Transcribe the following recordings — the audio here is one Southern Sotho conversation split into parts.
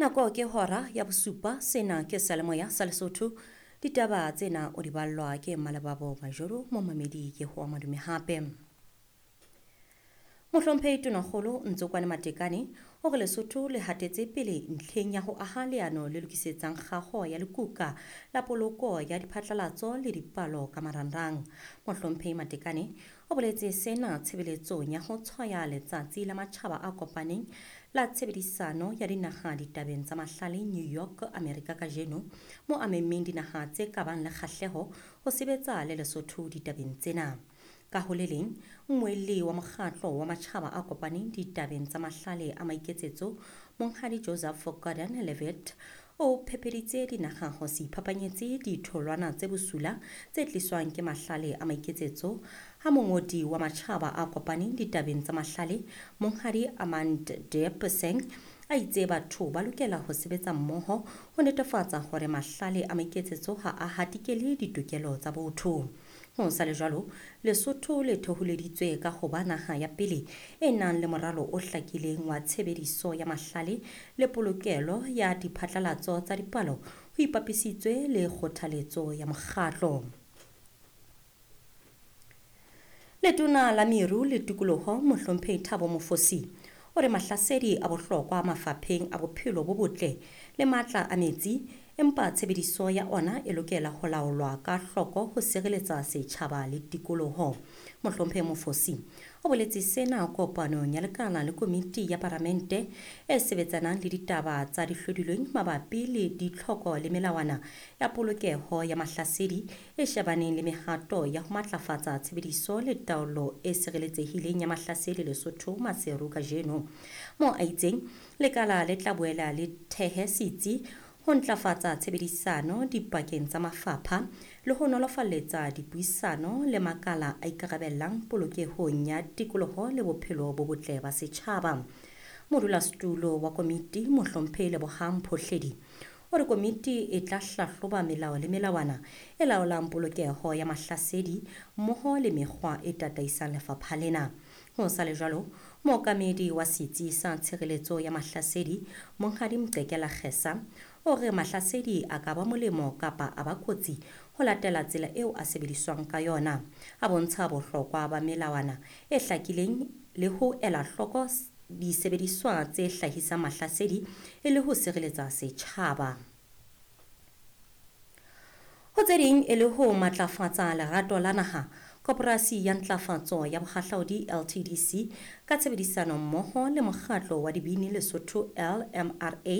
Nako ke hora ya bosupa, sena ke seyalemoya sa Lesotho. Ditaba tsena o di ballwa ke Mmalebabo Majoro, momamedi ke hoa madume hape. Mohlomphehi Tonakgolo Ntsokwane Matekane o re Lesotho le hatetse pele ntlheng ya ho aha leano le lokisetsang kgaho ya lekuka la poloko ya diphatlalatso le dipalo ka marangrang. Mohlomphehi Matekane o boletse sena tshebeletsong ya ho tshwaya letsatsi la matjhaba a kopaneng la tshebedisano ya dinaha ditabeng tsa mahlale New York, Amerika kajeno, mo a memmeng dinaha tse ka bang le kgahleho ho sebetsa le Lesotho ditabeng tsena. Ka ho le leng, mmuelli wa mokgatlo wa matjhaba a kopaneng ditabeng tsa mahlale a maiketsetso, Monghadi Joseph Gordon-Levitt, o phepeditse dinaha ho se iphapanyetse ditholwana tse bosula tse tliswang ke mahlale a maiketsetso ha mongodi wa matjhaba a kopaneng ditabeng tsa mahlale, Monghadi Amandeep Singh, a itse batho ba lokela ho sebetsa mmoho ho netefatsa hore mahlale a maiketsetso ha a hatikele ditokelo tsa botho. Ho sa le jwalo, Lesotho le thoholeditswe ka ho ba naha ya pele e nang le moralo o hlakileng wa tshebediso ya mahlale le polokelo ya diphatlalatso tsa dipalo ho ipapisitswe le kgothaletso ya mokgatlo. Letona la Meru le Tikoloho, Mohlomphehi Thabo Mofosi, o re mahlasedi a bohlokwa mafapheng a bophelo bo botle le matla a metsi, empa tshebediso ya ona e lokela ho laolwa ka hloko ho sireletsa setjhaba le tikoloho. Mohlomphehi Mofosi o boletse sena kopanong ya lekala le komiti ya paramente e sebetsanang le ditaba tsa dihlodilweng mabapi le ditlhoko le melawana ya polokeho ya mahlasedi e shebaneng le mehato ya ho matlafatsa tshebediso le taolo e sireletsehileng ya mahlasedi Lesotho Maseru kajeno. Mo a itseng lekala le tla boela le thehe setsi ho ntlafatsa tshebedisano dipakeng tsa mafapha le ho nolofaletsa dipuisano le makala a ikarabellang polokehong ya tikoloho le bophelo bo botle ba setjhaba. Modulasetulo wa komiti Mohlomphehi Lebohang Phohledi o re komiti e tla hlahloba melao le melawana e laolang polokeho ya mahlasedi mmoho le mekgwa e tataisang lefapha lena. Ho sa le jwalo, mookamedi wa setsi sa tshireletso ya mahlasedi Monghadi Mqekela Kgesa o re mahlasedi a ka ba molemo kapa a ba kotsi ho latela tsela eo a sebediswang ka yona. A bontsha bohlokwa ba melawana e hlakileng le ho ela hloko disebediswa tse hlahisang mahlasedi e le ho sireletsa setjhaba. Ho tse ding e le ho matlafatsa lerato la naha, Koporasi ya Ntlafatso ya Bohahlaudi LTDC ka tshebedisano mmoho le mokgatlo wa dibini Lesotho LMRA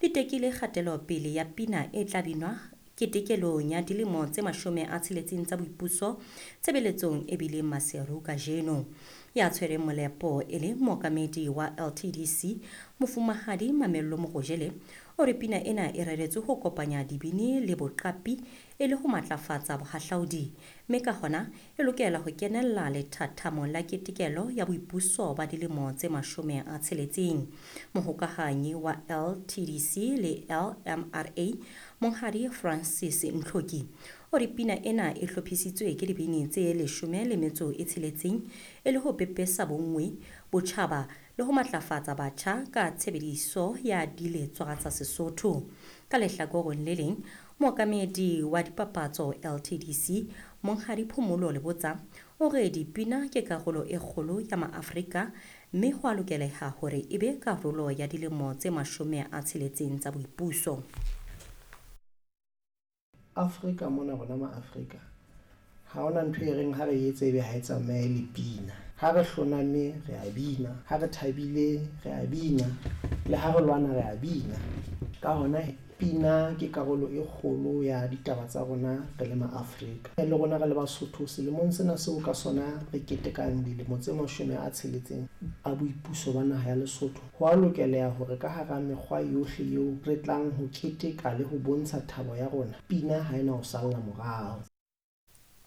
di tekile kgatelopele ya pina e tla binwa ketekelong ya dilemo tse 60 tsa boipuso tshebeletsong e bileng Maseru kajeno. Ya tshwereng molepo e le mookamedi wa LTDC Mofumahadi Mamello Mogojele o re pina ena e reretswe ho kopanya dibini le boqapi e le ho matlafatsa bohahlaudi, mme ka hona e lokela ho kenella lethathamo la ketekelo ya boipuso ba dilemo tse 60. Mohokahanyi wa LTDC le LMRA Monghadi Francis Ntlhoki o re pina ena e hlophisitswe ke dibini tse 16 e le ho pepesa bonngwe, botjhaba le ho matlafatsa batjha ka tshebediso ya diletswa tsa Sesotho. Ka lehlakoreng le leng, mookamedi wa dipapatso LTDC Monghadi Phomolo Lebotsa o re dipina ke karolo e kgolo ya Maafrika mme ho a lokeleha hore e be karolo ya dilemo tse 60 tsa boipuso. Afrika mona rona ma-Afrika ha hona ntho e reng ha re etse ebe ha e tsamaye le pina. Ha re hloname re a bina, ha re thabile re a bina, le ha re lwana re a bina. Ka hona pina ke karolo e kgolo ya ditaba tsa rona re le ma-Afrika. Le rona re le Basotho selemong sena seo ka sona re ketekang dilemo tse 60 a boipuso ba naha ya Lesotho. Ho a lokeleha hore ka hara mekgwa yohle eo re tlang ho keteka le ho bontsha thabo ya rona, pina ha ena ho salla morao.